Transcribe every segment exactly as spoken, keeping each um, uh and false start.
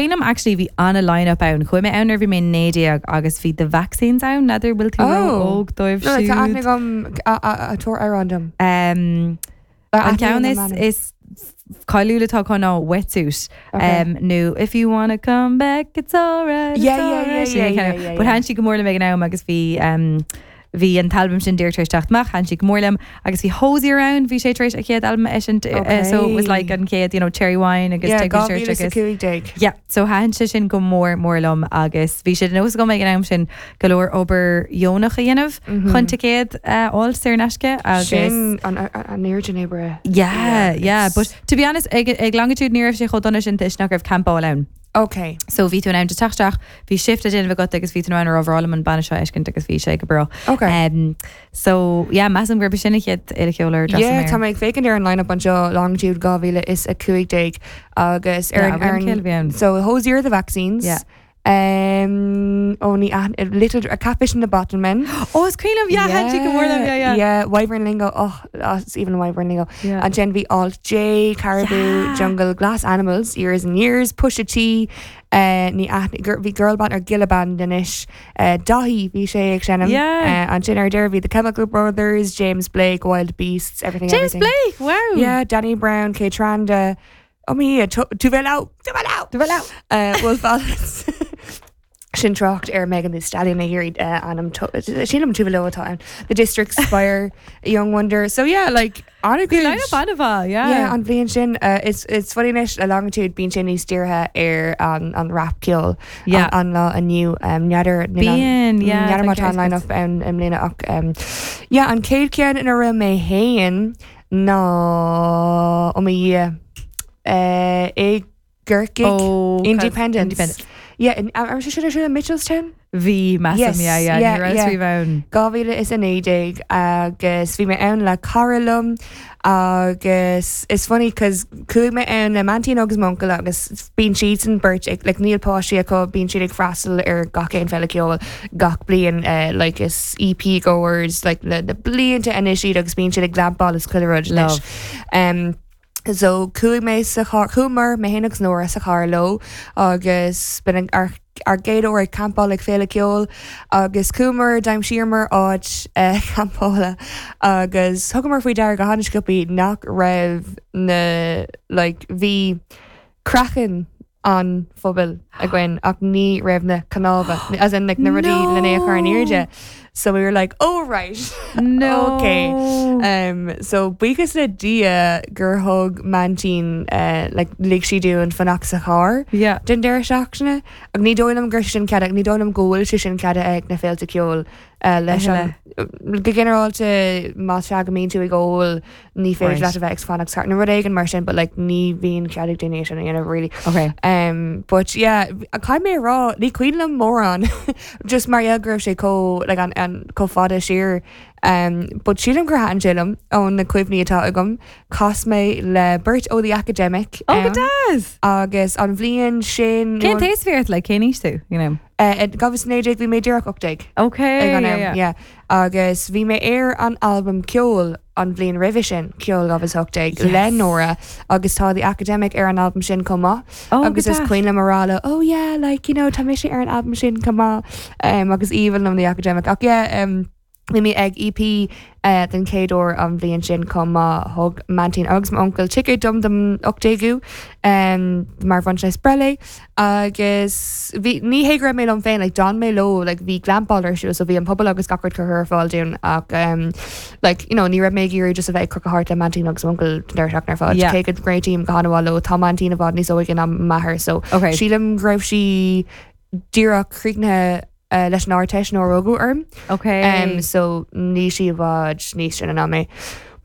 Cuimhním actually bhí ana line-up ann chuaigh mé ann nuair bhí mé naoi déag agus bhí the vaccines ann n'fheadar bhfuil tú Oh. óg dóibh No, tá aithne siúd. agam a- a- a tabhair amhrán dom. Um, an ceann is is cáiliúil atá acu ná wetsuit. Okay. Um, nó if you wanna come back it's alright. Yeah, yeah, yeah, yeah, yeah, yeah, But yeah. thaitin sí go mór liom ag an am agus bhí um, bhí an t-albam sin díreach tar éis teacht amach thaitin sí go mór liom agus bhí Hozier ann bhí sé tar éis a chéad albam eisiúint uh, so it was like an chéad you know cherry wine agus Yeah, Take Me to Church agus cúig déag. Yeah, so thaitin sé sin go mór mór liom agus bhí sé nós agam ag an am sin go leor obair dheonach a dhéanamh chun ticéad uh, fháil saor in aisce agus Sin an an oiread oibre. Yeah, yeah, but to be honest ag, ag longitude ní raibh sé chomh dona sin toisc nach raibh campáil ann. Okay. So bhí tú in ann teacht bhí shift a déanamh agat agus bhí tú in ann rá an banna seo a fheiscint agus bhí sé go breá. Okay. Um, so yeah, measaim gurb sin an chéad fhéile cheoil ar Yeah, tá mé ag féachaint ar an line-up anseo longitude dhá mhíle is a cúig déag agus ar Yeah, an ar an bhí ann. So Hozier the vaccines. Yeah. Um, only a little a catfish in the Bottlemen. Oh, is cuimhin liom yeah, yeah, go mór liom, yeah, yeah. Yeah, Wyvern Lingo. Oh, that's even Wyvern Lingo. Yeah. And then bhí Alt J, Caribou, Yeah. Jungle, Glass Animals, Years and Years, Pusha T, uh, ní aithne- gir- bhí Girl Band or Gilla Band anois, uh, Daithí bhí sé ag seinm. Yeah. Uh, ansin ar deireadh bhí The Chemical Brothers, James Blake, Wild Beasts, everything. James everything. Blake, wow. Yeah, Danny Brown, Kaytranada. Oh me, Tove Lo, Tove Lo, Tove Lo. Uh, Wolf Alice. Sin trácht ar Megan Thee Stallion a hiarraidh uh, anam sílim Tove Lo atá ann. The District Spire, Young Wonder. So yeah, like an Bhí line-up an-mhaith, yeah. Yeah, an bhliain sin uh, it's it's funny anois a longitude bíonn sé níos dírithe ar an an rap ceol Yeah. an, an lá inniu um, n'fheadar Bíonn, yeah, n'fheadar má tá tá an line-up an i mbliana ach um, yeah, an chéad cheann ina raibh mé féin ná ó mo Dhia uh, i gCorcaigh Oh, Independence. Independence. Yeah, in, am sé sin ar siúl in Mitchelstown? Bhí measaim, Yes, yeah, yeah, yeah, ní raibh yeah. riamh ann. Dhá mhíle is a naoi déag agus bhí mé ann le cara liom agus is funny cause chuaigh mé ann le m'aintín agus m'uncail agus bíonn siad san beirt ag like, níl páistí acu bíonn siad ag freastal ar gach aon fhéile ceoil gach bliain uh, like is EP goers like le na blianta anois iad agus bíonn siad ag glampáil is chuile rud anois. Love. Um, So chuaigh mé sa charr chuamar mé féin agus Nóra sa charr leo agus b'in ar ar gcéad uair ag campáil ag féile ceoil agus chuamar d'aimsíomar áit uh, campála agus thugamar faoi deara go han-sciobtha nach raibh na like, bhí craiceann an phubaill againn ach ní raibh na cnámha as in like, na rudaí No. lena chur in airde. So we were like, oh right. No. Okay. Um, so buíochas le Dia gur thug m'aintín uh, like, lig sí dúinn fanacht sa charr Yeah. den deireadh seachtaine ach ní dóigh liom gur sin cead ní dóigh liom go bhfuil sé sin ceadaithe ag na féilte ceoil uh, leis an go ginearálta má sea go mbíonn tú ag ól ní féidir Right. leat a bheith ag fanacht sa nó rud éigin mar sin, but like ní bhíonn cead ag daoine sin a dhéanamh really. Okay. Um, but yeah, caithfidh mé rá ní cuimhin liom mórán just mar go raibh sé chomh like, an, an chomh fada siar. Um, but sílim gur thaitin sé liom ó na cuimhní atá agam chas mé le beirt ó the academic Oh, go um, deas. agus an bhliain sin Cén t-aois a bhí ort like cén aois tú, you know? uh, dhá mhíle naoi déag bhí mé díreach ocht déag. Okay. ag an yeah, am, yeah. yeah. Agus bhí mé ar an album ceol an bhliain roimhe sin ceol agus ocht déag Yes. le Nóra agus tá the academic ar an album sin chomh maith. Oh, agus go is deas. cuimhin liom a rá leo, oh yeah like you know tá mise ar an album sin chomh maith um, agus even liom the academic ach yeah um, Bhí mé ag EP uh, den chéad uair an bhliain sin chomh maith thug m'aintín agus m'uncail ticéad dom dom ocht déagú um, mar bhronntanas breithe agus bhí ní hé go raibh mé liom féin like, d'fhan mé leo like, bhí glampáil ar siúl so bhí an puball agus gach rud curtha ar fáil dúinn ach um, like, you know, ní raibh mé ag iarraidh just a bheith ag crochadh thart le m'aintín agus m'uncail den deireadh seachtaine ar fad Yeah. cé go réitím go han-mhaith leo tá m'aintín i bhfad níos óige ná m'athair so Okay. sílim go raibh sí díreach críochnaithe uh, leis an Ardteist nuair a rugadh orm. Okay. Um, so ní sí i bhfad níos sine ná mé.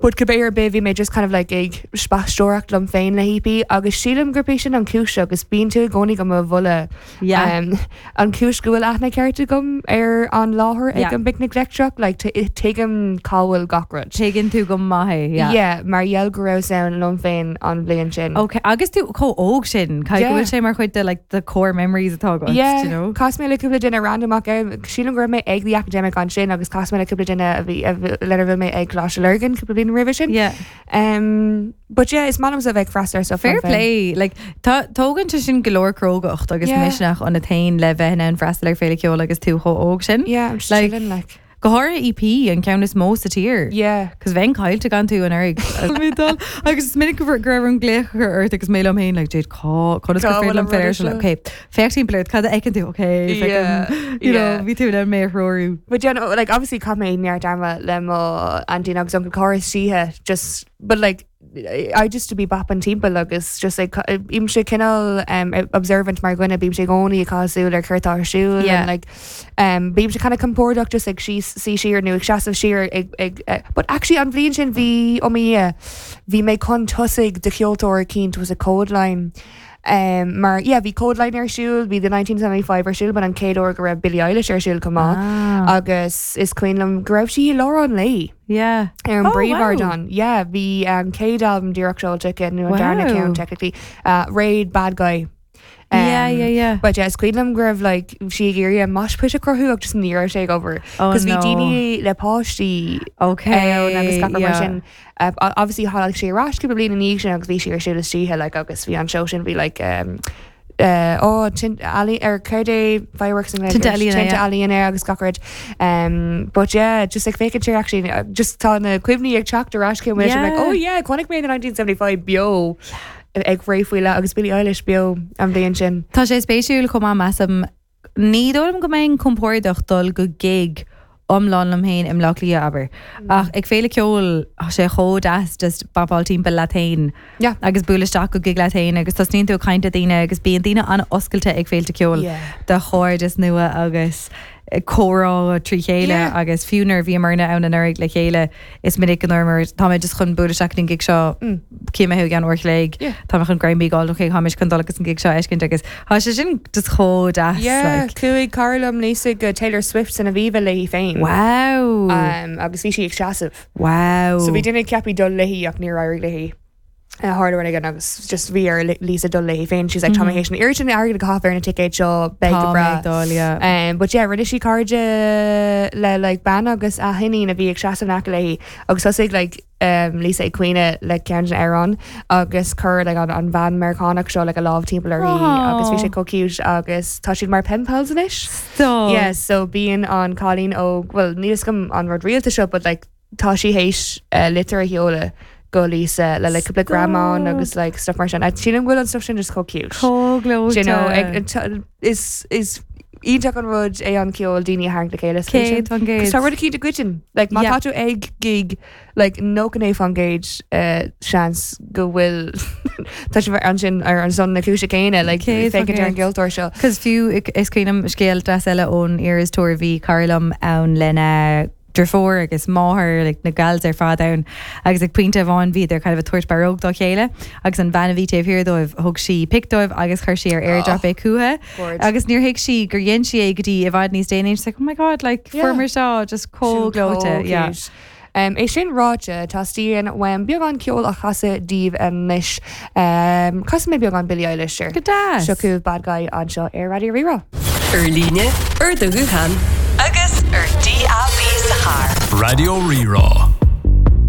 But cibé ar bith bhí mé just kind of like ag spaisteoireacht liom féin le EP agus sílim gurb é sin an chúis agus bíonn tú i gcónaí go mo bhulle Yeah. um, an chúis go bhfuil aithne ceart agam ar an láthair Yeah. ag an bPicnic Leictreach like tuigim cá bhfuil gach rud. Tuigeann tú go maith é, yeah. Yeah, mar gheall go raibh ann liom féin an bhliain sin. Okay, agus tú chomh óg sin, Ca Yeah. go bhfuil sé mar chuid de like the core memories atá agat, Yeah, you know? Chas mé le cúpla duine random ach sílim go raibh mé ag the academic ansin agus chas mé le cúpla duine a bhí lena bhfuil mé ag Coláiste Lurgan cúpla bliain bliain roimhe sin. Yeah. Um, but yeah, is maith liom a bheith freastal ar stuff Fair liom féin. play like tá tógann sé sin go leor crógacht agus Yeah. misneach ionat féin le bheith in ann freastal ar féile ceoil agus tú chomh óg sin. Yeah, I'm just Like- chilling like. Go háirithe EP an ceann is mó sa tír. Yeah. Cos bheinn caillte gan tú an agus is minic go raibh an glaoch ort agus mé liom féin like Jade cá conas Cá gur féidir bhfuil liom an rud féile seo? Okay, féach timpeall ort cad a fheiceann tú okay Yeah, you know yeah. bhí tú le mé a threorú. But yeah, no, like obviously chaith mé neart ama le mo auntie agus uncle Coris síthe just but like I just to be bopping timpeall agus just like bím sé cineál um, observant mar dhuine bím sé i gcónaí ag caitheamh súil ar céard atá ar siúl Yeah. and like um, bím sé kind of compordach just ag sí sí siar nó ag seasamh siar ag, ag, uh, but actually an bhliain sin bhí ó mí bhí mé chun tosaigh de cheoltóir eicínt was a Kodaline. Um, mar yeah, bhí Kodaline ar siúl, bhí the nineteen seventy-five ar siúl, but an chéad uair go raibh Billie Eilish ar siúl chomh maith. Ah. Agus is cuimhin liom go raibh sí i lár an lae Yeah. ar an Oh, wow. bpríomhardán. Yeah, bhí um, chéad album díreach seolta nó an darna Wow. ceann technically uh, Raid Bad Guy. Um, Yeah, yeah, yeah. But yeah, is cuimhin liom go raibh like sí ag iarraidh mosh pit a chruthú agus just ní raibh sé ag obair. Oh, Cos bhí no. daoine le páistí Okay. ann agus gach rud mar yeah. sin. Uh, obviously tháinig sé ar ais cúpla bliain ina dhiaidh sin agus bhí sí ar siúl istoíche like agus bhí an show sin bhí like um, uh, oh, tinte ealaíne ar céard é fireworks and Tinte ealaíne, tinte yeah. ealaíne agus gach rud. Um, but yeah, just like féachann sé actually uh, just tá na cuimhní ag teacht ar ais cé yeah. Like oh yeah, chonaic mé the nineteen seventy-five beo ag ré faoi le agus Billie Eilish beo an bhliain sin. Tá sé spéisiúil chomh maith measaim ní dóigh liom go mbeinn compordach dul go gig iomlán liom féin i mBleá Cliath abair. Ach ag féile ceoil tá sé chomh deas just bopáil timpeall leat féin Yeah. agus bualadh isteach go gig leat féin agus tosnaíonn tú ag caint le daoine agus bíonn daoine an-oscailte ag féilte ceoil Yeah. do chairdeas nua agus comhrá trí chéile Yeah. agus fiú nuair a bhíomarna ann anuraidh le chéile is minic go ndúramar tá mé just chun bualadh isteach an gig seo cé mé gan uair léig Yeah. tá chun Grammy gáil ó tháis chun dul agus an gig seo a fheiscint agus tá sé sin just chomh deas Yeah, like. chuaigh cara liom Lisa go Taylor Swift san Aviva léi féin. Wow. Um, agus bhí sí ag seasamh. Wow. So bhí duine ceaptha dul léi ach níor éirigh léi. Uh, tharla rud again agus just bhí ar Lisa dul léi féin. She's like tá mé an iar sin airgead a chaitheamh ar na ticéid seo beidh go Tá breá. mé ag dul, yeah. Um, but yeah, rinne sí cairde le like bean agus a hiníon a bhí ag seasamh in aice léi agus thosaigh like um, Lisa ag caoineadh le ceann den amhrán agus chuir like, an, an bhean Meiriceánach seo like, a lámh timpeall uirthi agus bhí sé chomh cute agus tá siad mar pen pals anois. Stop. Yeah, so bíonn an cailín ó well níl a fhios agam an rud rialta seo, but like tá sí théis uh, litir a sheoladh go Lisa le like cúpla greamán agus like stuff mar sin. I sílim go bhfuil an stuff sin just chomh cute. Chomh Do you know, gleoite. ag- t- is is iontach an rud é an ceol daoine a tharraingt le chéile. Céad faoin gcéad. Tá rud eicínt a goideann. Like má Yeah. tá tú ag gig like nócha naoi faoin gcéad uh, seans go bhfuil tá sibh ansin ar an son na cúise céanna like Céad faoin féachaint ar an gcéad. gceoltóir seo. Cos fiú is cuimhin liom scéal deas eile ón Eras Tour bhí cara liom ann lena deirfiúr agus máthair like, na gals ar fad ann agus ag pointe amháin bhíodar kind of ag tabhairt barróg dá chéile agus an bhean a bhí taobh thiar dóibh thug sí pic dóibh agus chuir sí ar airdrop é chucu Gorge. agus níor thuig sí gur dhein sí é go dtí i bhfad níos déanaí. She's like, oh my god, like Yeah. fuair seo just chomh gleoite yeah. Cute. Um, é sin ráite teastaíonn uaim beagán ceol a chasadh daoibh anois um, Casfaidh mé beagán Billie Eilish Go deas. Seo chugaibh Bad Guy anseo ar Raidió Rí-Rá. Ar líne ar do ghuthán agus ar D A B sa charr. Raidió Rí-Rá.